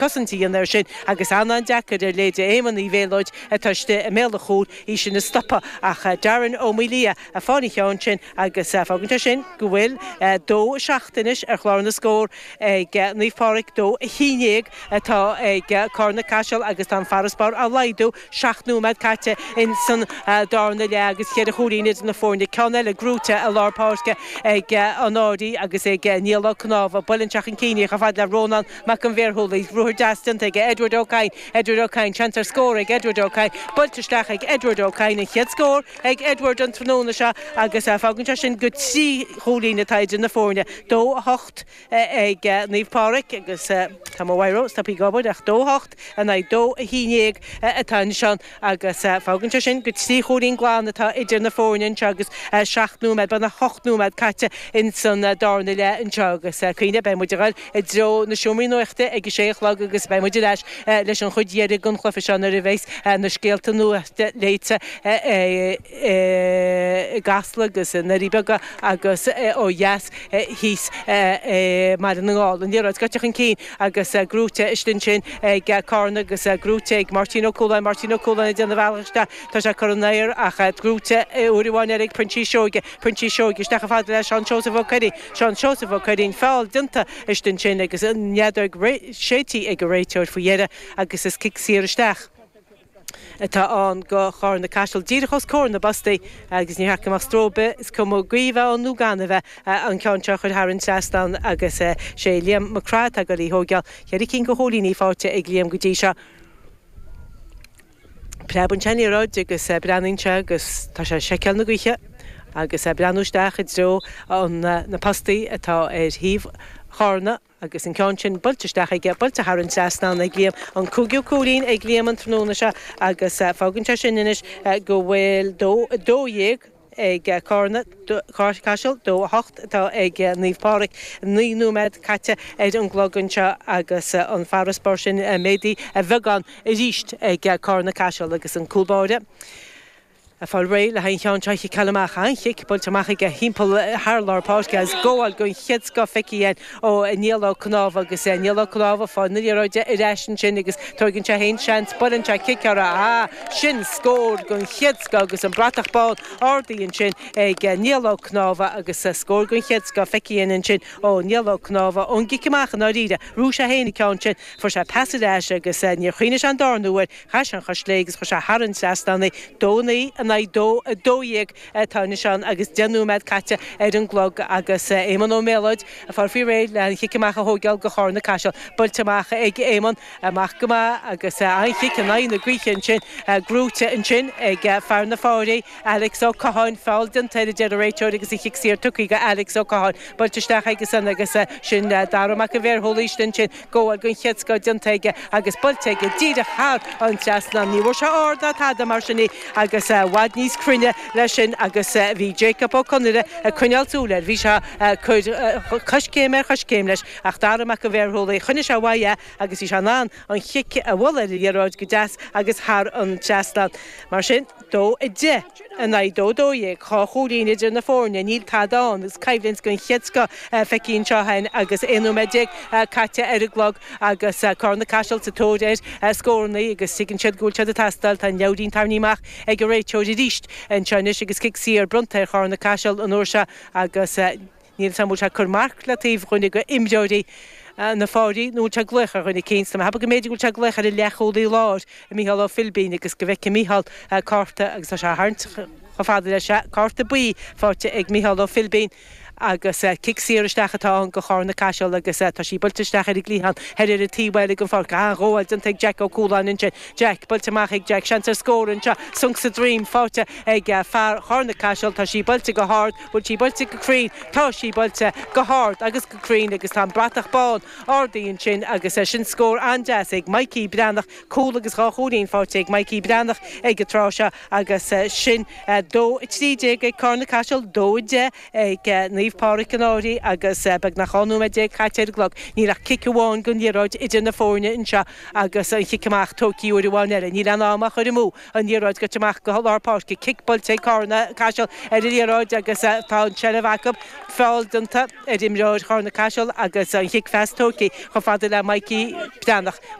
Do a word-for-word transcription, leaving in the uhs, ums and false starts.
Cosaint a dhéanamh air sin agus an-an-deacair ar leithéide Éamonn Uí Mhéalóid atá istigh i mbéal an chúil í sin a stopadh ach Darren Ó Maolaodha ag fáil an cheann sin agus fágann sé sin go bhfuil dó a seacht anois ar chlár na scór ag Naomh Pádraig dó a haon déag atá ag Carna Caiseal agus tá an farasbarr á laghdú seacht nóiméad caite in san darna leath agus ceithre chúilín idir na foirne ceann eile gnóite i lár páirce ag an Fhairche agus ag Niall Ó Cnámha buille chun cinn chomh fada le Rónán Mac an Bhéarshúlaigh ruathar deas déanta ag Edward Ó Cadhain Edward Ó Cadhain seans ar scór ag Edward Ó Cadhain buailte isteach ag Edward Ó Cadhain an chéad scór ag Edward an tráthnóna seo agus fágann sé sin go trí chúilín atá idir na foirne dó a hocht ag Naomh Pádraig agus tá mo bhiro stoptha ag obair ach dó hocht in aghaidh dó a haon déag atá anseo agus fágann sé sin go trí chúilín glan atá idir na foirne anseo agus seacht nóiméad beagnach ocht nóiméad caite in san darna leath anseo agus cuimhnigh beidh muid ag dul i dtreo na seomraí nuachta ag a sé a chlog agus beidh muid ar ais leis an chuid dheiridh den chluiche seo nuair a bheas na scéalta nuachta léite i gCasla agus i nDoirí Beaga agus ó dheas thíos i mBaile na nGall. An liathróid gaibhte chun cinn agus gnóite istigh ansin ag Carna agus gnóite ag Máirtín Ó Cualáin Máirtín Ó Cualáin ag déanamh a bhealach isteach tá sé curtha in aer ach gnóite uair amháin eile ag Proinsias Seoige Proinsias Seoige isteach chomh fada le Seán Seosamh Ó Cuirrín Seán Seosamh Ó Cuirrín feall déanta istigh ansin agus an fheadóg séidte ag an réiteoir faoi dheireadh agus is cic saor isteach. atá ann go Charna Caiseal díreach os comhair na bpostaí agus ní theacht amach stróbe is cuma gaoth ann nó gan a bheith an ceann seo chur thar an trasnán agus sé Liam Mac Craith go lí thógáil cheithre cinn de chúilíní faighte ag Liam go dtí seo. Preabann sé an liathróid agus breathnaíonn sé agus tá sé seiceáil na gaoithe agus breathnú isteach i dtreo an na postaí atá ar thaobh Charna agus an ceann sin buailte isteach aige buailte thar an trasnán ag Liam an cúigiú cúilín ag Liam an tráthnóna seo agus fágann sé sin anois go bhfuil dó dó dhéag ag Carna Caiseal dó a hocht atá ag Naomh Pádraig naoi nóiméad caite ar an gclog anseo agus an farasbarr sin méadaithe a bheagán arís ag Carna Caiseal agus an cúl báire. Ag fáil réidh le haghaidh an cheann seo a chiceáil amach an-chic buailte amach aige timpeall thar lár páirce agus gabháil den chéad scoth feicthe ó Niall Ó Cnámha agus Niall Ó Cnámha fáil na liathróide ar ais ansin agus tógann sé féin seans buaileann sé cic ar a sin scór den chéad scoth agus an bratach bán ardaithe ansin ag Niall Ó Cnámha agus scór den chéad scoth feicthe ansin ó Niall Ó Cnámha ón gcic amach an áiríre rú sé féin ceann sin fuair sé pas ar ais agus níor chuimhnigh sé an darna huair chaith sé an chois chlé agus chuir sé thar an trasnán é dó naoi in aghaidh dó a dó dhéag atá anseo agus deich nóiméad caite ar an gclog agus Éamonn Ó Méalóid ag fáil faoi réir le an chic amach a thógáil go Charna Caiseal buailte amach ag Éamonn amach go maith agus an chic in aghaidh na gaoithe ansin gnóite ansin ag fear na Fáirí Alex Ó Catháin feall déanta ar deireadh réiteoir agus an chic saor tugtha go Alex Ó Catháin buailte isteach agus an agus sin Dara Mac an Bhéarshúlaigh ansin gabháil den chéad scoth déanta aige agus buailte aige díreach thar an trasnán ní bhfuair sé ard ná tada mar sin í agus bhfad níos cruinne leis sin agus bhí Jacob Ó Conaire ag coinneáil súil air bhí sé cur coiscéim ar choiscéim leis ach Dara Mac an Bhéarshúlaigh choinnigh sé uaidh é agus bhí sé in ann an chic a bhualadh ar an liathróid go deas agus thar an trasnán mar sin dó a deich in aghaidh dó dó dhéag dhá chúilín idir na foirne níl tada ann agus coimhlint den chéad scoth feicthe anseo féin agus aon nóiméad déag caite ar an gclog agus Carna Caiseal sa tóir ar scóranna agus tuigeann siad go bhfuil siad ag teastáil tá an leabhairín tarraingthe amach ag an réiteoir arís anseo anois agus cic saor bronnta ar Charna Caiseal an uair seo agus níl sam bhfuil sé cur marc le taobh dhuine de imreoirí na Fáirí nó sé glaoch ar dhuine cinn, Tá go mb'fhéidir go bhfuil sé glaoch ar an leathchúlaí láir Mícheál Ó Philbín agus go bhfeicfidh Mícheál cárta agus tá sé tharraingt chomh fada leis sé cárta buí faighte ag Mícheál Ó Philbín agus cic saor isteach atá ann go Charna Caiseal agus tá sí buailte isteach ar an gcliathán ar ar an taobh eile den pháirc an-ghabháil déanta ag Jack Ó Cualáin ansin Jack buailte amach ag Jack seans ar scór anseo sonc sa droim faighte ag fear Charna Caiseal tá sí buailte go hard bhfuil sí buailte go cruinn tá sí buailte go hard agus go cruinn agus tá an bratach bán ardaithe ansin agus sin scór an-deas ag Mikey Breathnach cúl agus dhá chúilín faighte ag Mikey Breathnach ag an tráth seo agus sin dó trí déag ag Carna Caiseal dó deich ag Naomh Naomh Pádraig an Fhairche agus beagnach dhá nóiméad déag caite ar an gclog. Níl ach cic amháin den liathróid idir na foirne anseo agus an chic amach tógtha uair amháin eile. Níl an am á chur amú an liathróid goite amach go lár páirce cic buailte Carna Caiseal ar an liathróid agus tá an seilbh acu feall déanta ar imreoir Charna Caiseal agus an chic phas tógtha chomh fada le Mikey Breathnach.